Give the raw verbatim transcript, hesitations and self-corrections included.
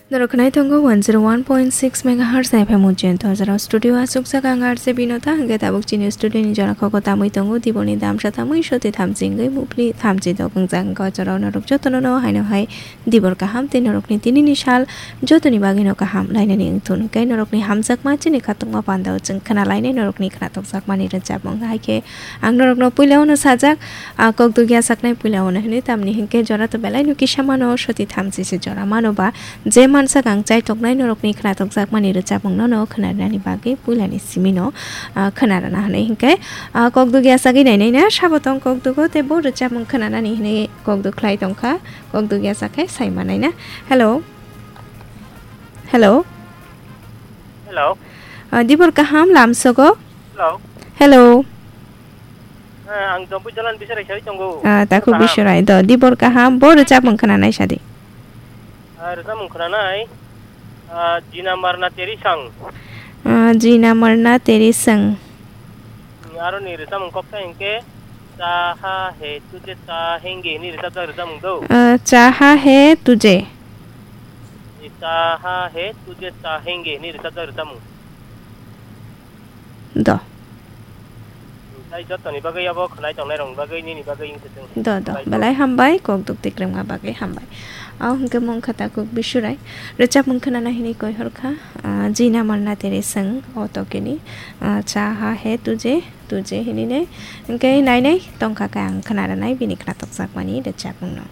Norok khwnai tongo one zero one point six megahertz F M Ujjain Thorjara studio o aswkjak ang R J Binota, hwnkhe tabuk chini studio ni jora khoko tamwi tongo Diborni damsa tamwi soti thamchi wngwi mupli thamchi dok wngjak. Hwnkhe o jora o norok jotono no haino hai Dibor kaham tei norokni tinini sal jotoni bagwino kaham lainani wngthun. Hwnkhe norokni hamjakma chini khatungma pandao chwng khna lainai norokni khna tokjakmani rwchapmung. Hai khe ang norokno puila ono sajak, a, kok dugya saknai puila ono hwnwi, tamni hwnkhe jora to belai no kisa mano, soti thamchi se jora mano ba, je mansak ang chai toknai norokni khna tokjakmani rwchapmung no no khna rwnani bagwi puilani simi no, a, khna rwna hwnwi hwnkhe, a, kok dugya sagwi nainai na sabo tong kok dugo tei bo rwchapmung khna nani hwnwi kok duk khlai tongkha. Kok dugya sakhe sai manai na. Hello. Hello. Hello. Ah, Dibor kaham lamsogo. Hello. Hello. Eh, ang Jompu Jalan Bisarai sai tongo. Ah, takhuk Kaham. Bisarai do. Dibor kaham bo rwchapmung khna nai sadi. Ah, rwchapmung khna nai. Ah, Jina Marna Teri Sang. Ah, Jina Marna Teri Sang. Aroni rwchapmung kok ta hwnkhe, Chaha he tuje chahenge hwnwi rwchapjak rwchapmung do. Ah, Chaha he tuje. Chaha he tuje chahenge hwnwi rwchapjak rwchapmung. Do. Tei jotoni bagwi abo khwnai tongnai rokni bagwi nini bagwi wng thung. Do, do. Belai hambai, kok duk tikrwngma bagwi hambai. Au hwnkhe mung kha takhuk Bisurai. Rwchapmung khwnana hwnwi koi hor kha, ah, Jina Marna Teri Sang o tokeni, ah, Chaha he tuje, tuje hwnwi nai. Hwnkhe nai nai tongkha khe ang khna rwnai bini khna tokjakmani rwchapmung no.